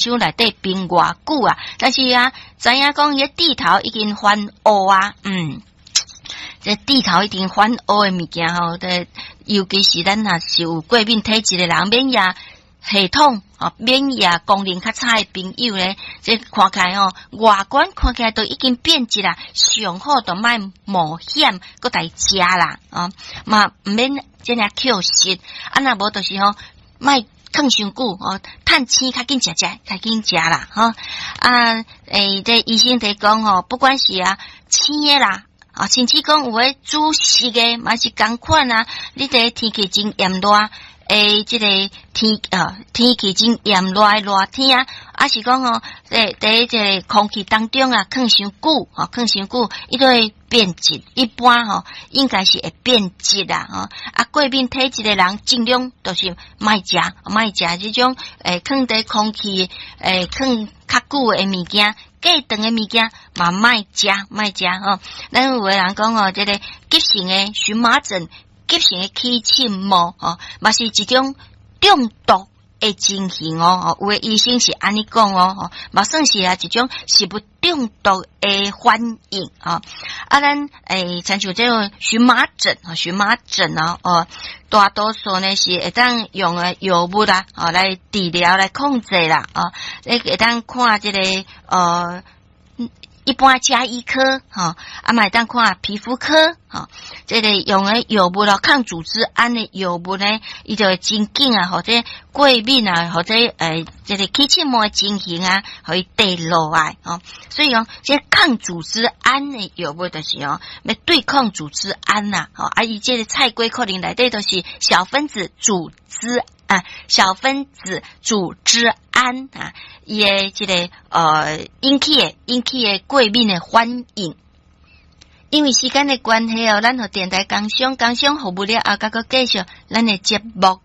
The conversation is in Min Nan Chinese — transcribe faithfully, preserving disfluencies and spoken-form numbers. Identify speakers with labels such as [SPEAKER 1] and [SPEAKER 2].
[SPEAKER 1] 箱內底冰偌久啊，但是啊，知影講伊蒂頭已經翻烏啊，嗯，這蒂頭已經翻烏的物件吼，這尤其是咱若是有過敏體質的人，免疫系統哦，免疫功能較差的朋友咧，這看起來吼，外觀看起來都已經變質啦，上好就莫冒險閣來食啦，哦，嘛毋免這爾抾食，啊若無就是吼，莫囥傷久哦，趁生較緊食食，較緊食啦，吼啊，欸，這醫生佇講吼，不管是啊生的啦，啊，甚至講有的煮熟的嘛是仝款啊，你佇天氣真炎熱。欸，這個天啊，天氣真炎熱的熱天啊，抑是講吼，佇佇這個空氣當中啊，囥傷久，吼，囥傷久，伊都會變質。一般吼，應該是會變質啦，吼。啊，過敏體質的人，盡量就是莫食，莫食這種欸，囥佇空氣欸，囥較久的物件，過長的物件嘛，莫食，莫食吼。咱有的人講吼，這個急性的蕁麻疹。急性的起刺毛吼，嘛是一種中毒的情形哦。有的醫生是按呢講哦，吼，嘛算是啊一種食物中毒的反應啊。啊，咱欸，親像這種蕁麻疹啊，蕁麻疹哦，哦，大多數呢是會當用的藥物啦，哦，來治療來控制啦，哦，你會當看這個呃。一般家醫科，吼，啊嘛會當看皮膚科，吼，這個用的藥物咯，抗組織胺的藥物呢，伊就會真緊啊，或者過敏啊，或者欸，這個起刺毛的情形啊，予伊跌落來，吼。所以講，這個抗組織胺的藥物就是哦，欲對抗組織胺呐，吼，啊，伊這個菜龜可能內底都是小分子組織啊，小分子組織胺啊，伊的這個呃引起的引起的過敏的反應。因為時間的關係哦，咱予電台工商工商服務了後，閣閣繼續咱的節目。